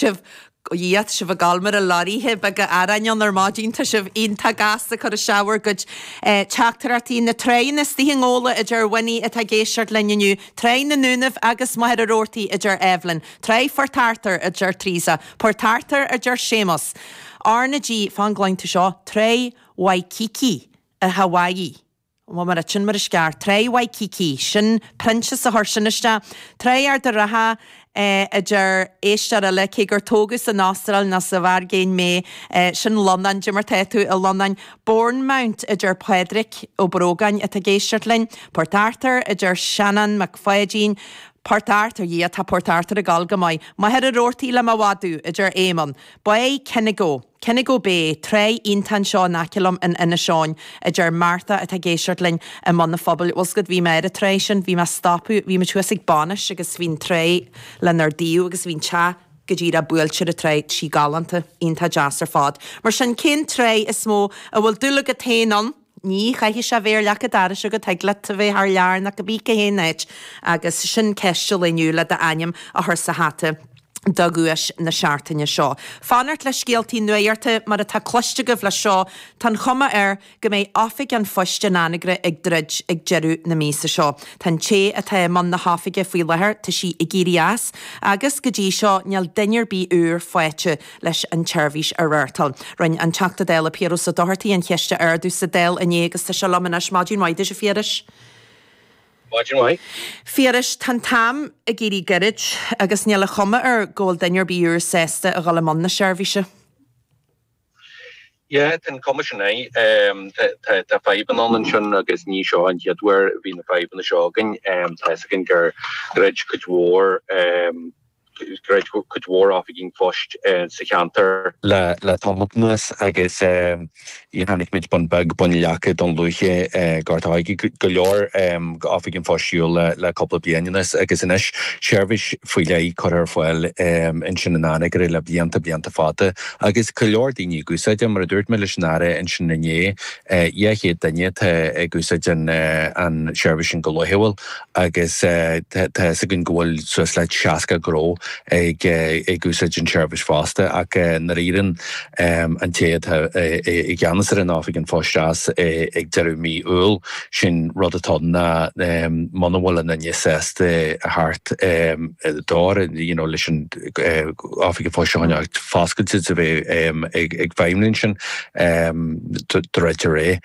Sibh, a Dhia, tá sibh ag gabháil mar a lorraithe beaga aráin ann ar maidin, tá sibh iontach gasta ag cur isteach bhur gcuid teachtaireachtaí. Na tráigheanna istigh i nGabhla a deir Winnie atá ag éisteacht linn inniu, Tráigh na nDúnaibh agus Machaire Rabhartaigh a deir Evelyn, Tráigh Phort Arthur a deir Teresa, Port Arthur a deir Séamus. R na G, fan go gcluin tú seo, Tráigh Waikiki i Hawaii. Bhuel, mar sin mar is ceart. Tráigh Waikiki, sin Proinsias a chuir sin isteach. Tráigh Ard a' Rátha, a deir éisteoir eile, cé gur tógadh san Astráil nó sa Airgintín mé, sin Lonán, cad é mar tá tú, a Lonán. Bournemouth, a deir Pádraic Ó Brógáin atá ag éisteacht linn. Port Arthur, a deir Seanán Mac Pháidín. Port Arthur, yeah, tá Port Arthur ag gabháil go maith. Machaire Rabhartaigh le mo mhadadh, a deir Éamonn. Báigh Kinnego. Kinnego Bay, tráigh iontach anseo in aice liom in Inis Eoghain, a deir Martha atá ag éisteacht linn i mbun an phobail. Bhfuil 's agat, bhí mé ar an tráigh sin, bhí mé ag stopadh, bhí muid thuas ag bainis agus bhí an tráigh lenár dtaobh agus bhí an teach go díreach buailte ar an tráigh, tá sí galánta, iontach deas ar fad. Mar sin, cén tráigh is mó a bhfuil dúil agat féin ann? Ní chaithfidh sé a bheith ar leac an dorais agat, thig leat a bheith thar lear nó cibé cá haon áit agus sin ceist an lae inniu le d'ainm a chur sa hata do dhuais na seachtaine seo. Fanacht le scéaltaí nuachta mar atá cloiste agaibh leis seo, tá an chuma air go mbeidh Oifig an Phoist in Anagaire ag druid ag deireadh na míosa seo. Tá an té atá i mbun na hoifige faoi láthair, tá sí ag éirí as agus go dtí seo níl duine ar bith úr faighte leis an tseirbhís a reáchtáil. Rinne an Teachta Dála Piaras Ó Dochartaigh an cheist a ardú sa Dáil inné agus tá sé liom anois. Maidin mhaith duit, a Phiarais. Maidin mhaith. Phiarais, tá an t-am ag éirí gairid agus níl an chuma air go bhfuil duine ar bith úr sásta a dhul i mbun na seirbhíse. Yeah, tá an chuma sin air. Tá fadhbanna ann ansin agus ní seo an chéad uair a bhí na fadhbanna seo againn. Tá fhios againn gur dhruid cuid mhór Dhruid cuid mhór oifigí an phoist sa cheantar. Le tamall anuas agus chonaic muid Bun Beag, Bun Leaca, Dún Lúiche, Gort a' Choirce, go leor oifigí an phoist ar shiúl le cúpla bliain anuas agus anois seirbhís faoi leith curtha ar fáil ansin in Anagaire le blianta, blianta fada agus go leor daoine ag úsáid é. Mar a dúirt mé leis an Aire ansin inné, 200 duine atá ag úsáid an seirbhís sin go laethúil. agus tá fhios againn go bhfuil suas le 60 gnó ag úsáid an tseirbhís fosta ach nuair a éiríonn an té atá i gceannas ar an Oifig an Phoist as ag deireadh mí Iúil, sin rud atá ann ná muna bhfuil aon duine sásta a theacht dóir you know leis an Oifig an Phoist a choinneáil foscailte is a bheith ag feidhmiú ansin druidtear é.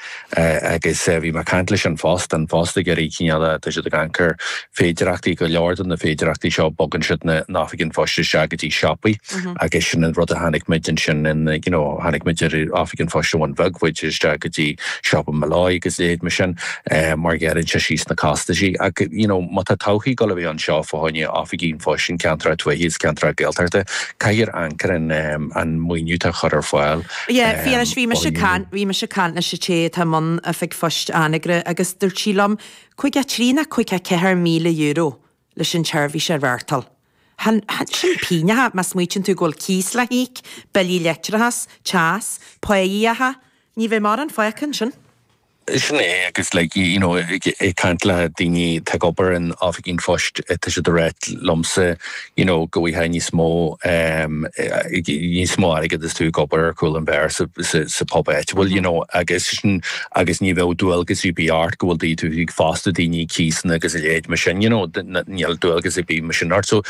Agus bhí mé ag caint leis An Post, An Post ag iarraidh cineál, tá siad ag amharc ar féidireachtaí, go leor de na féidireachtaí seo, bogann siad na n-oifigí an phoist isteach go dtí siopaí agus sin an rud a chonaic muid ansin in, you know, chonaic muid ar Oifig an Phoist i mBun Bheag, bhog siad isteach go dtí siopa Molloy agus a leithéid mar sin mar ghearrann sé síos na costaisí. Ach, you know, má tá todhchaí ag dul a bheith anseo fá choinne oifigí an phoist in ceantracha tuaithe agus ceantracha Gaeltachta, caithfear amharc ar an, an maoiniú atá á chur ar fáil. Yeah, bhí anois, bhí mise ag caint, bhí mise ag caint leis an té atá i mbun Oifig Phoist Anagaire agus dúirt sí liom, 53 nó €54,000 leis an tseirbhís a reáchtáil. Sin pínneacha má smaoitíonn tú go bhfuil cíos le híoc, billí leictreachais, teas, pá íoctha, ní bheidh mórán fágtha ansin. Sin é agus like you know ag caint le daoine atá ag obair in oifigí an phoist tá siad ag ráit liomsa you know go bhfaighfeá níos mó níos mó airgead is tú ag obair ar chúl an bheáir sa sa pub áitiúil you know agus sin agus ní bheadh dualgas ar bith ort go bhfuil tú ag fostú daoine cíosanna agus a leithéid mar sin you know níl dualgas ar bith mar sin ort so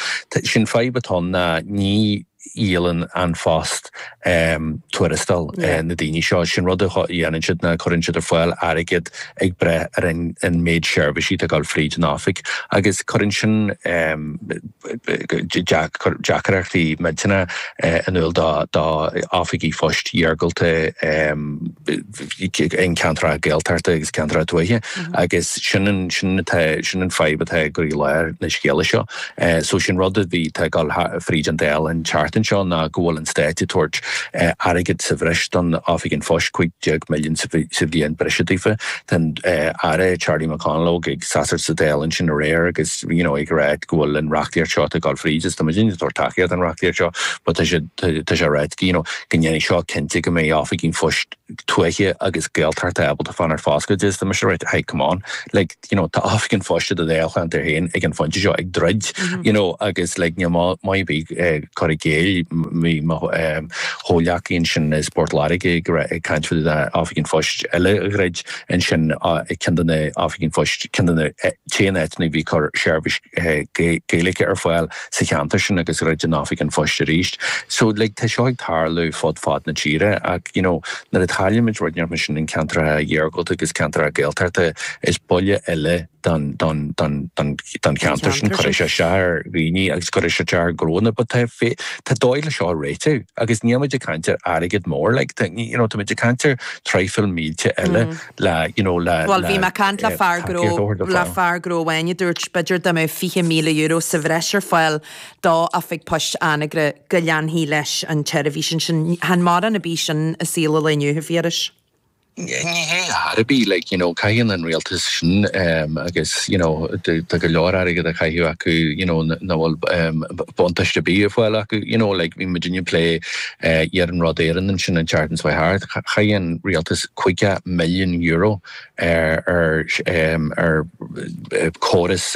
sin fadhb atá ann ná ní dhíolann An Post tuarastal na daoine seo. Sin rud a dhéanann siad ná cuireann siad ar fáil airgead ag brath ar an méid seirbhísí atá ag dul fríd an oifig agus cuireann sin deacrachtaí millteanacha in iúl do oifigí phoist iargúlta i gceantracha Gaeltachta agus ceantracha tuaithe agus sin an sin atá sin an fadhb atá i gcroílár na scéala seo. So sin rud a bhí tá ag dul fríd an Dáil an tseachtain seo ná go bhfuil an Stát ag tabhairt airgead sa bhreis don Oifig an Phoist, 15 milliún sa bhliain breise daofa. Tá an Aire Charlie McConalogue ag seasamh sa Dáil ansin aréir agus you know ag rá go bhfuil an reachtaíocht seo atá ag dul fríd is tá muid ag tabhairt tacaíocht don reachtaíocht seo but tá sé tá sé ag rá you know go ndéanfaidh seo cinnte go mbeidh oifigí an phoist tuaithe agus Gaeltachta ábalta fanacht foscailte is tá mise ag rá hey come on like you know tá oifig an phoist i do dháilcheantar féin ag an phointe seo ag druid you know agus like níl maith ar bith cur i gcéill. Gael, bhí mo chomhghleacaí ansin as Port Láirge ag caint fá dtaobh de Oifig an Phoist eile a dhruid ansin, ceann de na Oifigí an Phoist, ceann de na t-aon áiteanna a bhí ag cur seirbhís Gaeilge ar fáil sa cheantar sin agus dhruid an Oifig an Phoist arís. So like tá seo ag tarlú fud fad na tíre ach you know nuair a chaillimid rud inteacht mar sin in ceantracha iargúlta agus ceantracha Gaeltachta is buille eile don don don don don cheantar sin cuirfidh sé isteach ar dhaoine agus cuirfidh sé isteach ar ghnónna but tá tá dóigh le seo a réiteach agus níl muid ag caint ar airgead mór like tá you know tá muid ag caint ar traidhfil mílte eile le you know le Bhuel bhí mé ag caint le fear gnó le fear gnó amháin a dúirt b'fhéidir dá mbeadh €20,000 sa bhreis ar fáil do Oifig Poist Anagaire go leanfaí leis an tseirbhís ansin. Chan mórán ar bith sin i saol an lae inniu, a Phiarais. Ní hé ar chor ar bith, like, you know, caitheann an rialtas sin agus, you know, tá go leor airgead á chaitheamh acu, you know, nach bhfuil buntáiste ar bith á fháil acu, you know, like, bhí muidinne ag plé Iarnród Éireann ansin an tseachtain seo thart, chaith an rialtas €50 milliún ar ar ar córas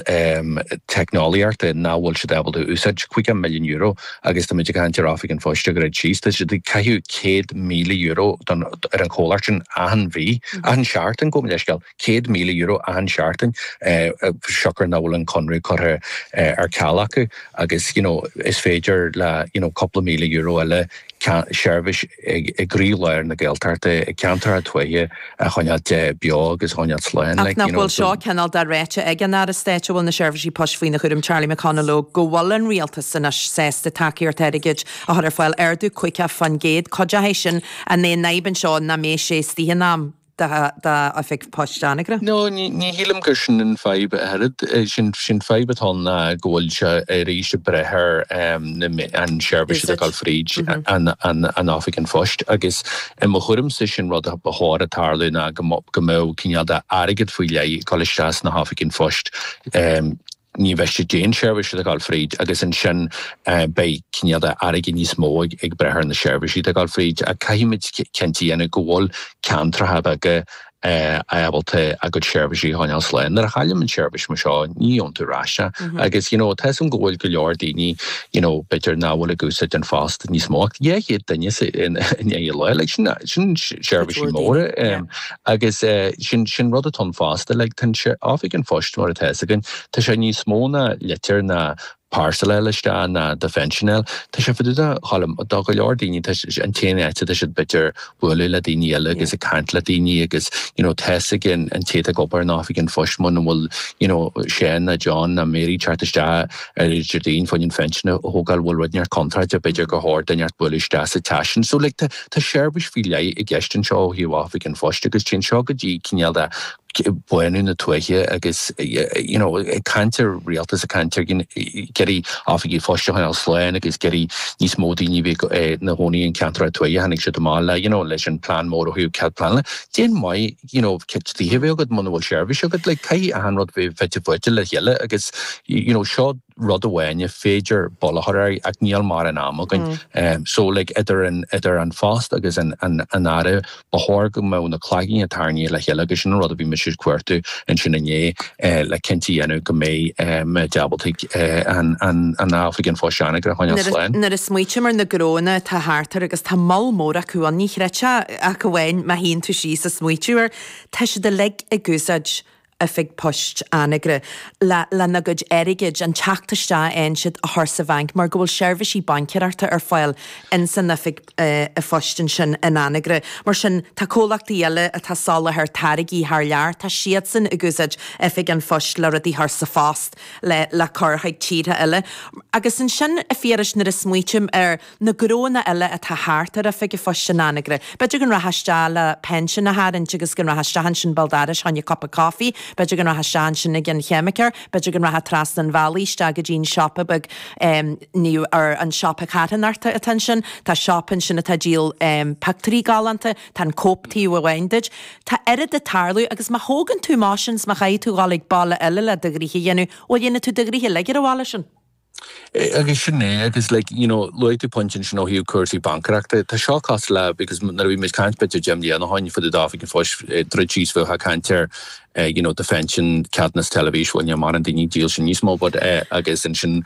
teicneolaíochta nach bhfuil siad ábalta a úsáid, €50 milliún. Agus tá muid ag caint ar Oifig an Phoist a dhruid síos, tá siad ag caitheamh €100,000 don ar an chomhlacht sin achan mhí, achan seachtain, gabh mo leithscéal, €100,000 achan seachtain, siocair nach bhfuil an conradh curtha ar ceal acu agus you know is féidir le you know cúpla míle euro eile seirbhís i gcroílár na Gaeltachta, i gceantracha tuaithe a choinneáilt beo agus a choinneáilt slán. Ach nach bhfuil seo cineál de ráite ag an Aire Stáit a bhfuil na seirbhísí poist faoina chúram, Charlie McConalogue, go bhfuil an Rialtas anois sásta tacaíocht airgid a chur ar fáil, ardú 50%, cuideoidh sin an é an fhadhb anseo nach mbeidh sé istigh in am? d'Oifig Poist Anagaire? No, ní shílim gur sin an fadhb a oiread. Sin fadhb atá ann ná go bhfuil sé arís ag breith ar an seirbhís atá ag dul fríd an Oifig an Phoist agus i mo thuairimse sin rud a ba chóir a tarlú ná go mbeadh cineál de airgead faoi leith ag dul isteach sna hOifigí an Phoist. Ní mhiste d'aon seirbhís atá ag dul fríd agus ansin beidh cineál de airgead níos mó ag breith ar na seirbhísí atá ag dul fríd. Ach caithfimid cinnte a dhéanamh go bhfuil ceantracha beaga ábalta a gcuid seirbhísí a choinneáil slán. Nuair a chailleann an seirbhís mar seo, ní gheobhann tú ar ais é. Agus you know tá 'fhios a'm go bhfuil go leor daoine you know b'fhéidir nach bhfuil ag úsáid an phost níos mó ach 200 duine in aghaidh an lae, like sin sin seirbhísí móra. Agus sin, sin rud atá ann fosta, like tá an Oifig an Phoist mar atá 'fhios againn, tá sé níos mó ná litir ná parcel a fháil isteach ná do phension a fháil. Tá sé fá dtaobh de Cholm, do go leor daoine tá sé an t-aon áit atá siad b'fhéidir bualadh le daoine eile agus ag caint le daoine agus you know tá 'fhios ag an, an té atá ag obair in Oifig an Phoist muna bhfuil you know Seán ná John ná Mary teacht isteach ar Déardaoin fá choinne an phension a thógáil bhfuil rud inteacht contráilte b'fhéidir gur chóir duine inteacht bualadh isteach sa teach sin. So like tá Tá seirbhís faoi leith i gceist anseo ó thaobh Oifig an Phoist agus téann seo go dtí cineál de bánú na tuaithe agus you know ag caint ar rialtas ag caint ar iarraidh oifigí phoist a choinneáil slán agus iarraidh níos mó daoine a bhí ina gcónaí in ceantracha tuaithe tháinig siad amach le you know leis an plean mór ó thaobh cead pleanála. Cén mhaith you know tithe a bheith agat muna bhfuil seirbhís agat like caithfidh achan rud bheith fite fuaite le chéile agus you know seo rud amháin ar féidir buille a chur air ach níl mórán ama againn. So like idir an idir an phost agus an an an aire ba chóir go mbeadh na cloigíní tarraingthe le chéile agus sin an rud a bhí mise ag cuartú ansin inné le cinnte a dhéanamh go mbeidh muid ábalta an an an oifig an phoist Anagaire a choinneáil slán. Nuair a smaoitím ar na gnóanna atá thart air agus tá moll mór acu ann, ní chreidfeá ach amháin má shuíonn tú síos a smaoitiú air, tá siad uilig ag úsáid Oifig Poist Anagaire le lena gcuid airgid, an teacht isteach a fhaigheann siad, a chur sa bhanc mar go bhfuil seirbhísí baincéireachta ar fáil ins an Oifig Phoist ansin in Anagaire. Mar sin, tá comhlachtaí eile atá ag soláthar táirgí thar lear, tá siadsan ag úsáid Oifig an Phoist le rudaí a chur sa phost le le cur chuig tíortha eile. Agus ansin, a Phiarais, nuair a smaoitím ar na gnóanna eile atá thart ar Oifig an Phoist in Anagaire. B'fhéidir go rachfá isteach le pension a tharraingt agus go rachfá isteach ansin béal dorais fá choinne cupa coffee, b'fhéidir go rachfá isteach ansin ag an cheimiceoir, b'fhéidir go rachfá trasna an bhealaigh isteach go dtí an siopa beag nó ar an siopa carthanachta atá ansin. Tá siopa ansin atá ag díol pictiúirí galánta, tá an Cope taobh amháin duit. Tá oiread ag tarlú agus má thógann tú amach sin 's má chaithfidh tú dhul ag baile eile le do ghnoithe a dhéanamh, bhuel dhéanfaidh tú do ghnoithe uilig ar an bhaile sin. Agus sin é, agus like, you know, luaigh tú pointe ansin ó thaobh cúrsaí baincéireachta. Tá seo cosúil le, because nuair a bhí muid ag caint b'fhéidir 10 mbliana ó shin fá dtaobh d'Oifig an Phoist, druid síos bheifeá ag caint ar, you know, do phension, ceadúnas teilifís, bhuel níl mórán daoine ag díol sin níos mó, but agus ansin,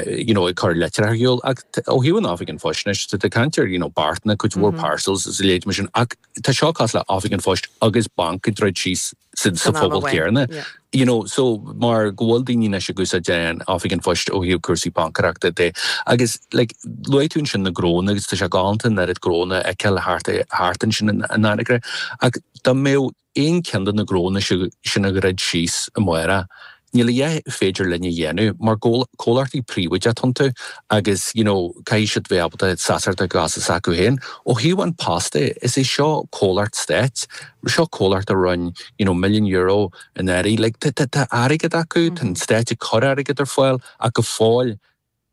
you know, ag cur litreacha ar shiúl. Ach ó thaobh an Oifig an Phoist anois, tá tú ag caint ar, you know, beartanna, cuid mhór parcels is a leithéid mar sin, ach tá seo cosúil le Oifig an Phoist agus banc ag druid síos. sa phobal céanna. You know, so mar go bhfuil daoine anois ag úsáid an Oifig an Phoist ó thaobh cúrsaí baincéireachta de. Agus like, luaigh tú ansin na gnónna agus tá sé galánta an oiread gnónna a fheiceáil thart, thart ansin in Anagaire. Ach dá mbeadh aon cheann de na gnónna sin a dhruid síos amárach, Níl a dhath féidir linn a dhéanamh mar comhlachtaí príobháideacha atá iontu agus you know caithfidh siad bheith ábalta seasamh ar a gcosa s'acu féin. Ó thaobh An Post de, is é seo comhlacht stáit, seo comhlacht a rinne you know milliún euro anuraidh, like tá tá airgead acu, tá an stát ag cur airgead ar fáil ach go fóill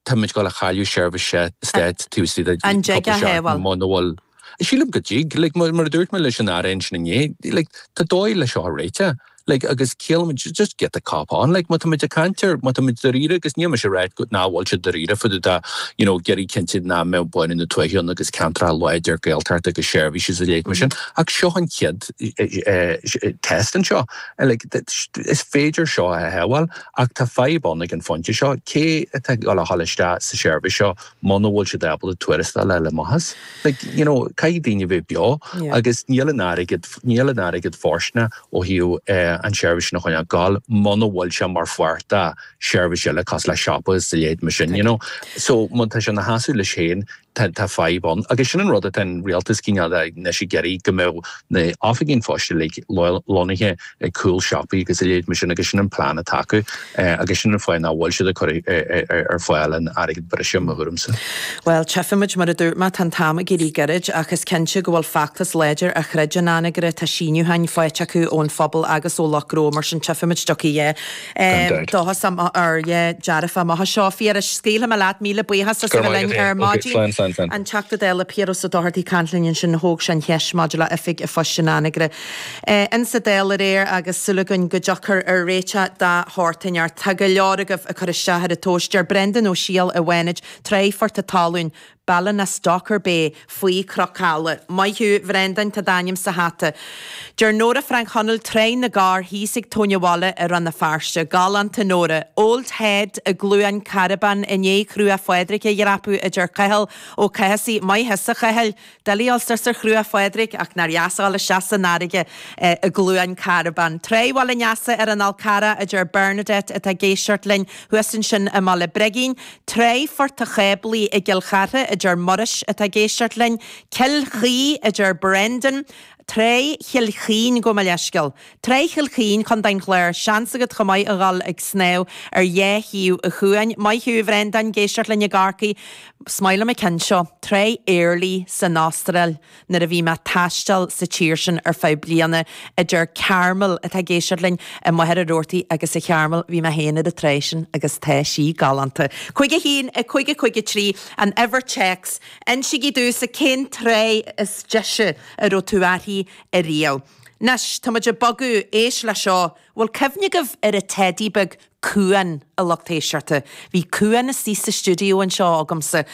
Táimid ag dul a chailleadh seirbhís stáit taobh istigh de An dtig cúpla a seachtain shábháil? muna bhfuil. Sílim go dtig. Like, mar a dúirt mé leis an Aire ansin inné, like, tá dóigh le seo a réiteach. Like, agus ciallaíonn just get the cop on. Like, má táimid ag caint ar, má táimid dáiríre, agus níl mise ag rá go, nach bhfuil siad dáiríre fá dtaobh de, you know, ag iarraidh cinntiú nach mbeadh bánú na tuaithe ann agus ceantracha láidir Gaeltachta agus seirbhísí is a leithéid mar sin. Ach seo an chéad test anseo. Like, is féidir seo a shábháil. Ach tá fadhb ann ag an phointe seo, cé atá ag dul a dhul isteach sa seirbhís seo muna bhfuil siad ábalta tuarastal a fháil le maitheas? Like, you know, caithfidh daoine bheith beo agus níl an airgead, níl an airgead fóirsteanach ó thaobh an seirbhís sin a choinneáil ag gabháil muna bhfuil sé mar pháirt de sheirbhís eile cosúil le siopa is a leithéid mar sin, you know. So, má tá sé ina sheasamh leis féin, tá fadhb ann. Agus sin an rud atá an rialtas cineál anois ag iarraidh, go mbeadh na oifigí an phoist uilig lonnaithe ag cúl siopaí agus a leithéid mar sin agus sin an plean atá acu agus sin an fáth nach bhfuil siad ag cur ar fáil an airgead breise, mo thuairimse. Bhuel, tchífimid, mar a dúirt mé, tá an t-am ag éirí gairid ach is cinnte go bhfuil feachtas láidir á throid in Anagaire, tá síniúcháin faighte acu ón phobal agus ó lucht gnó, mar sin tchífimid dtiocfaidh a dhath. Dóchas ar dearfa amach anseo. A Phiarais, scaoilfidh mé leat, míle buíochas as a bheith linn ar maidin. An Teachta Dála Piaras Ó Dochartaigh ag caint linn ansin, thóg sé an cheist maidir le Oifig an Phoist in Anagaire insa Dáil aréir agus súil againn go dtiocfar ar réiteach de shórt inteacht. Tá go leor agaibh ag cur isteach ar an tomhas. Deir Brendan Ó Siadhail i bhFánaid, Tráigh Phort a' Talún, Ballinastocker Bay, faoi Chnoc Ealla. Maith thú, a Bhrendáin, tá d'ainm sa hata. Deir Nóra Frainc Chonaill, Tráigh na gCorr thíos ag Tóin an Bhaile i Rann na Feirste. Galánta, Nóra. Old Head i gCluain Carbán i ndiaidh Chruach Phádraig a dhreapadh, a deir Cathal Ó Cathasaigh. Maith thusa, a Chathail. Doiligh a dhul suas ar Chruach Phádraig, ach nár dheas a dhul isteach san fharraige i gCluain Carbán. Tráigh Bhaile an Easa ar an Fhál Carrach, a deir Bernadette atá ag éisteacht linn thuas ansin i mBaile Brigín. Tráigh Phort a' Cháblaí i gCill Chartha, a deir Muiris atá ag éisteacht linn. Cill Chaoi, a deir Brendan. Tráigh Chill Chaoin, gabh mo leithscéal. Tráigh Chill Chaoin, Contae an Chláir. Seans agat chomh maith a dhul ag snámh ar dhá thaobh an chuain. Maith thú, a Bhrendáin, ag éisteacht linn i gCorcaigh. Is maith liom an ceann seo. Tráigh Airlie san Astráil. Nuair a bhí mé ag taisteal sa tír sin ar feadh bliana, a deir Carmel atá ag éisteacht linn i Machaire Rabhartaigh agus a Charmel, bhí mé féin ar an tráigh sin agus tá sí galánta. 5 1 5 5 3 an uimhir téacs. Insígí domhsa cén tráigh is deise a raibh tú uirthi ariamh. Anois, tá muid ag bogadh, éist le seo, bhfuil cuimhne agaibh ar an teidí beag Cuan, a lucht éisteachta. Bhí Cuan istigh sa stiúideo anseo agamsa.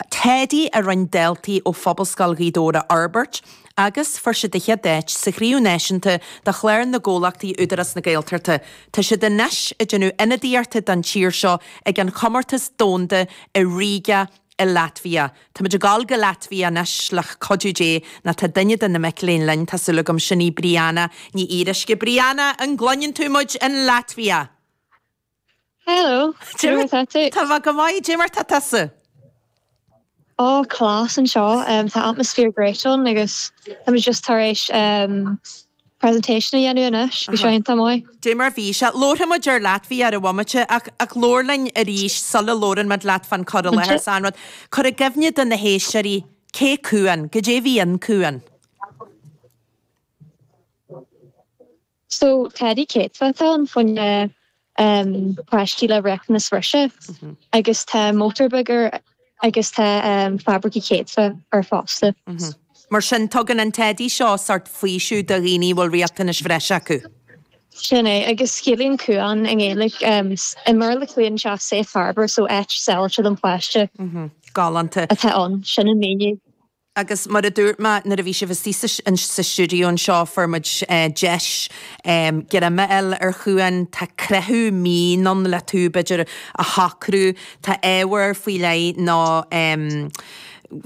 Teidí a rinne daltaí ó Phobalscoil Ghaoth Dobhair a fhorbairt agus fuair siad an chéad áit sa Chraobh Náisiúnta de Chlár na gComhlachtaí Údarás na Gaeltachta. Tá siad anois ag déanamh ionadaíochta don tír seo ag an chomórtas domhanda i Riga i Latvia. Táimid ag dul go Latvia anois le cuidiú Dé nó tá duine de na mic léinn linn, tá súil agam, sin í Brianna Ní Fhíoruisce. Brianna, an gcluineann tú muid in Latvia? Hello, cad é mar atá tú? Tá mé go maith, cad é mar tá tusa? Ó, class anseo, tá atmosphere great ann agus táimid just tar éis presentation a dhéanamh anois, bhí sé iontach maith. Dé mar bhí sé. Labharfaidh muid ar Latvia ar an bhomaite ach ach labhair linn arís sula labhrann muid leat fán cur i láthair 's an rud. Cuir i gcuimhne do na héisteoirí cé Cuan, goidé bhí in Cuan. So teidí céadfa atá ann fá choinne páistí le riachtanais bhreise agus tá mótar beag air agus tá fabraicí céadfa air fosta. Mar sin, tugann an teidí seo sórt faoiseamh do dhaoine a bhfuil riachtanais bhreise acu. Sin é, agus ciallaíonn cuan i nGaeilge, i mBéarla ciallaíonn sé safe harbour, so áit sábháilte don pháiste. Galánta. Atá ann, sin an míniú. Agus mar a dúirt mé nuair a bhí sibh istigh sa stiúideo anseo, fuair muid deis greim a fháil ar chuan. Tá creathadh mín ann le tú, b'fhéidir, a shocrú. Tá ábhar faoi leith nó.